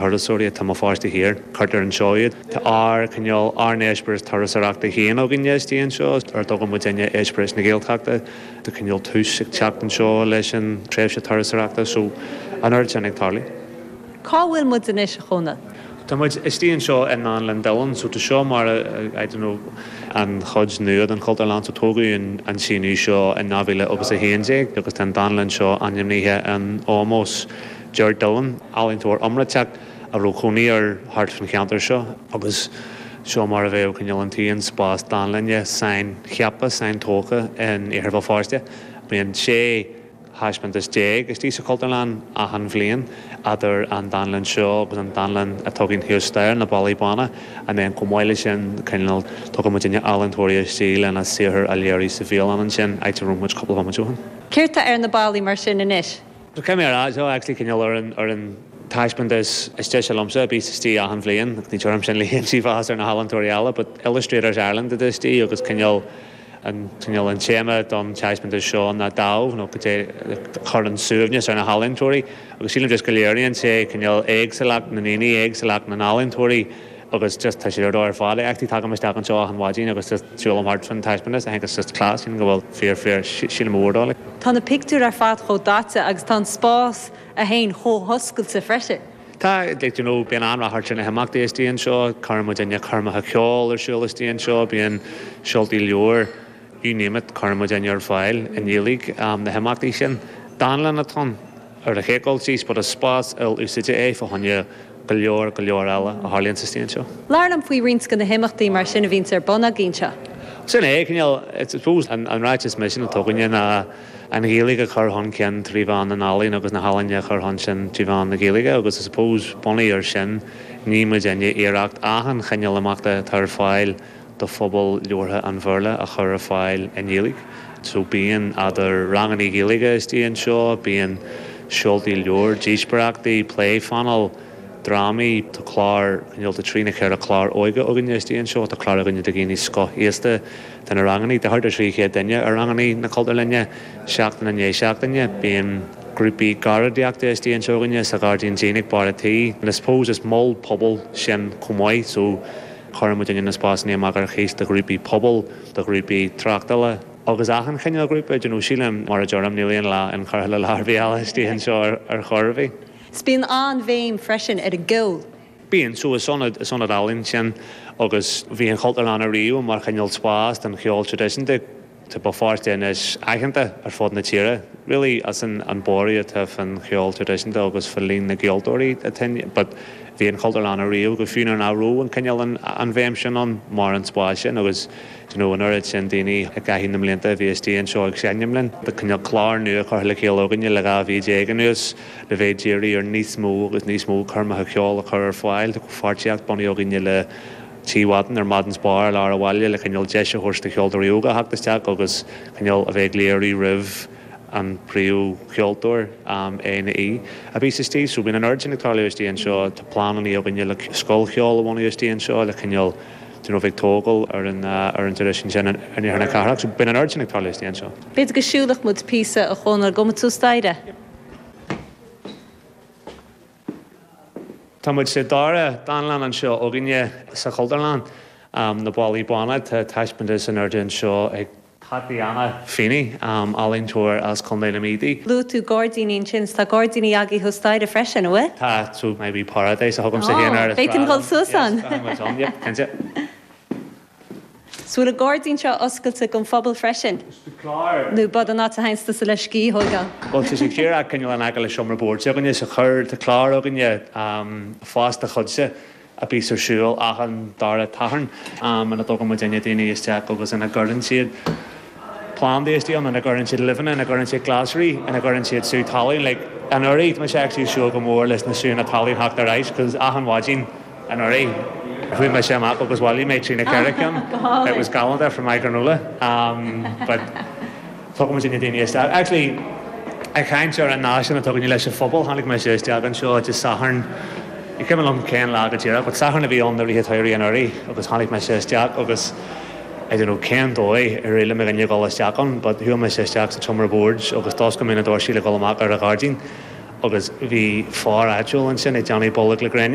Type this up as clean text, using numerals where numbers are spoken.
Turasóirí atá i mBéal Feirste Thiar, cuirtear anseo iad. Tá ár, cineál, ár n-eispéireas turasóireachta féin againne istigh anseo, ar a dtugann muidinne Eispéireas na Gaeltachta. Tá cineál tús ag teacht anseo leis an tréimhse turasóireachta so an oiread sin ag tarlú. Cá bhfuil muid anois, a Chónail? Tá muid istigh anseo i nDánlann Dillon so tá seo mar, I don't know, an chuid nua den Chultúrlann so tógadh an síneadh seo in 2011 agus tá an dánlann seo ainmnithe in ómós Ger Dillon, ealaíontóir iomráiteach a raibh cónaí air thart fán cheantar seo, agus seo mar a bheadh cineál an t-aon spás dánlainne saincheaptha, saintógtha in Iarthar Bhéal Feirste. Bíonn 16 thaispeántas istigh sa Chultúrlann achan bhliain, idir an dánlann seo agus an dánlann atá againn thuas staighre, na Ballaí Bána, and then chomh maith leis sin, cineál, tugann muidinne ealaíontóirí istigh lena saothar a léiriú sa bhialann ansin, áit a raibh muid cúpla bomaite ó shin. Céard tá ar na ballaí mar sin anois? So caithfidh mé a rá, seo actually cineál ar an, ar an taispeántas is deise liomsa a bíos istigh achan bhliain, ní deirim sin le haon mheas ar na healaíontóirí eile, but Illustrators Ireland atá istigh agus cineál an, cineál an téama don taispeántas seo ná dáimh nó cad é a chuireann suaimhneas ar na healaíontóirí agus sílim just go léiríonn sé cineál éagsúlacht na ndaoine, éagsúlacht na n-ealaíontóirí agus just tá sé ar dóigh ar fad. Actually tagaim isteach anseo achan mhaidin agus just siúlaim thart fán taispeántas, I think it's just class, sílim go bhfuil fíor fíor, sílim go mhór dó. Tá na pictiúir ar fad chomh daite agus tá an spás é féin chomh hoscailte freisin. Tá, like you know, bíonn an-ráchairt ar na himeachtaí istigh anseo, cuireann muidinne coirmeacha ceoil ar siúl istigh anseo, bíonn seoltaí leabhar, you name it, cuireann muidinne ar fáil i nGaeilge na himeachtaí sin. Dánlann atá ann ar an chéad dul síos but is spás il-úsáide é fá choinne go leor, go leor eile a tharlaíonn istigh anseo. Labhair liom faoi roinnt de na himeachtaí mar sin a bhíonns ar bun agaibh anseo. Sin é, cineál, I suppose, an ráiteas misin atá againne ná an Ghaeilge a chur chun cinn trí mheán na n-ealaíon agus na healaíona a chur chun cinn trí mheán na Gaeilge agus I suppose bunaithe ar sin ní muidinne iarracht achan chineál imeachta atá ar fáil do phobal labhartha an Bhéarla a chur ar fáil i nGaeilge. So bíonn idir rangannaí Gaeilge istigh anseo, bíonn seoltaí leabhar, díospóireachtaí, pléphainéil, drámaí, tá clár, cineál tá trí nó ceithre chlár óige againne istigh anseo, tá clár againne do dhaoine scothaosta, tá na rangannaí, tá thart ar 300 duine ar rangannaí na Cultúrlainne seachtain i ndiaidh seachtaine, bíonn grúpaí ceardaíochta istigh anseo againne sa ghairdín dín ag barr an tí. And I suppose is mol pobail sinn chomh maith so Cuireann muidinne na spásanna amach ar chíos do ghrúpaí pobail, do ghrúpaí tráchtála agus achan chineál grúpa, do you know, sílim, mar a deirim, níl aon lá inchurtha le lá ar bith eile istigh anseo ar chor ar bith. 'S bíonn an-bhéim freisin ar an gceol. Bíonn, so is ionad, is ionad ealaíon sinn agus bhí an Chultúrlann ariamh mar chineál spás don cheol traidisiúnta. Tá Béal Feirste anois aitheanta ar fud na tíre really as an an borradh atá fán cheol traidisiúnta agus fá líon na gceoltóirí atá ann but bhí an Chultúrlann ariamh go fiú nuair nach raibh an cineál an an bhéim sin ann mar an spás sin agus do you know an oiread sin daoine i gcaitheamh na mblianta a bhí istigh anseo ag seinm linn. Tá cineál clár nua curtha le chéile againne le 12 mhí anuas le bheith ag díriú ar níos mó agus níos mó coirmeacha ceoil a chur ar fáil. Tá comhpháirtíocht bunaithe againne le Tigh Mhadden ar Madden's Bar i lár an bhaile le cineál deis a thabhairt do cheoltóirí óga a theacht isteach agus cineál a bheith ag léiriú roimh an príomhcheoltóir, é nó í, a bhíos istigh. So bíonn an oiread sin ag tarlú istigh anseo. Tá pleananna againne le scoil cheoil a bhunú istigh anseo le cineál do you know bheith ag tógáil ar an ar an traidisiún sin in iarthar na cathrach. So bíonn an oiread sin ag tarlú istigh anseo. B'fhéidir go siúlfadh muid píosa a Chónail, gabhfaidh muid suas staighre. Tá muid sa dara dánlann anseo againne sa Chultúrlann, Na Ballaí Bána. Tá taispeántas in airde anseo ag Tatiana Feeney, ealaíontóir as Contae na Mí di. Luaigh tú gairdíní ansin, tá gairdíní agaibh thuas staighre freisin, an bhfuil? Tá, so my wee paradise a thugaimse féin air. B'fhéidir dul suas ann. Yes, tá muid ann, yep, cinnte. 'S bhfuil an gairdín seo oscailte don phobal freisin? Nó b'fhéidir an áit a théanns tusa le scíth a thógáil? Bhuel, tá sé díreach cineál in aice le seomra boird s'againne so chuir, tá clár againne Fás do Chuidse a bíos ar siúl achan dara Satharn ina dtugann muidinne daoine isteach agus ina gcuireann siad plandaí istigh ann, ina gcuireann siad luibheanna, ina gcuireann siad glasraí, ina gcuireann siad sú talún. Like, anuraidh, tá mise actually ag súil go mór leis na súnna talún theacht ar ais 'cause achan mhaidin, Anuraidh, chuaigh mise amach agus bhailigh mé trí nó ceithre cheann. It was galánta for my granola. But tugann muidinne daoine isteach. Actually, ag caint ar an nasc sin atá againne leis an phobal, tháinig mise isteach anseo Dé Sathairn, ní cuimhin liom cén lá go díreach, but Satharn a bhí ann i rith an tsamhraidh anuraidh agus tháinig mise isteach agus I don't know cén dóigh ar éirigh le mo dhuine dul isteach ann, but chuaigh mise isteach sa tseomra boird agus d'oscail mé na doirsí le dhul amach ar an ghairdín. Agus bhí fear áitiúil ansin ag déanamh bolg le gréine.